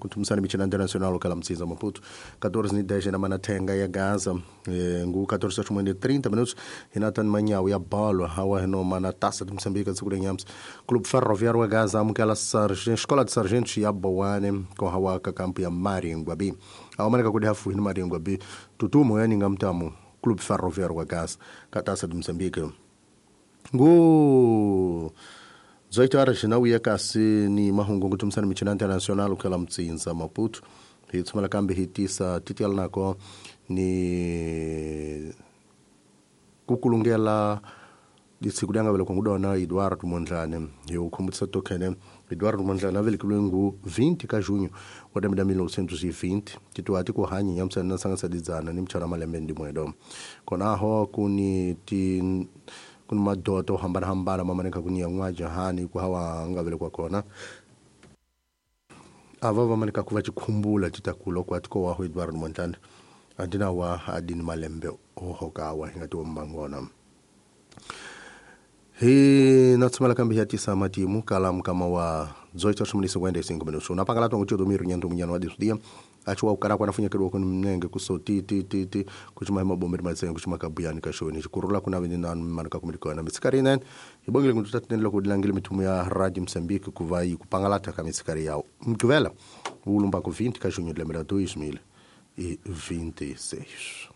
Kutumisana michina internacional kala mtsiza Maputo 14:10 na manatenga ya Gaza ngu 14:30 minutos hinatan manyawu ya balo hawa hino mana taça de Moçambique segura nhams Clube Ferroviário wa Gaza amukela Escola de Sargentos ya Boane com hawa ka kampu ya Maringuabi awamaneka kudi hafu hino Maringuabi tutumo yani ngamtamu Clube Ferroviário wa Gaza ka taça de Moçambique ngu 18 horas na uya kasi ni mahungu kutumisana michina internacional kala mtsinza Maputo hi tsumala kambe hi tisa titial nako ni kukulungela disiku lyanga vele kungudona Eduardo Mondlane hi ukhumbutisa tokhene Eduardo Mondlane avelekiwe ngu 20 ka junho wa lembe la 1920 titiwa ti ku hanyi nyamsana na sangasadidzana ni mchana malembe ndimwedo konaho kuni ti kuni madoto hambanahambana mamaneka kuni yan'wa jahani ku hawa nga velekwa kona ava vamanika ku va chikhumbula citakula ku atiko waho Eduardo Mondlane andina wa adini malembe ohokawa hi nga ti wombangona hi na tsumela kambe hi ya tisa matimu kala mukama wa 18:55 minutos napangala tongo tio domiro nyanto munyano wa disudia achiwa ukara kwa nafunya kedwa kuni mnenge kuso ti ti ti ti kuchuma mabomberi matsengo kuchuma kabuyani kashoni chikurula kuna vene na manuka kumilikona mitsikari nen ibongile kuntu tatinelo kudilangile mitumu ya Radio Mozambique kuva kupangalata ka mitsikari yao mkuvela ulumba ku 20 ka junho de 2026.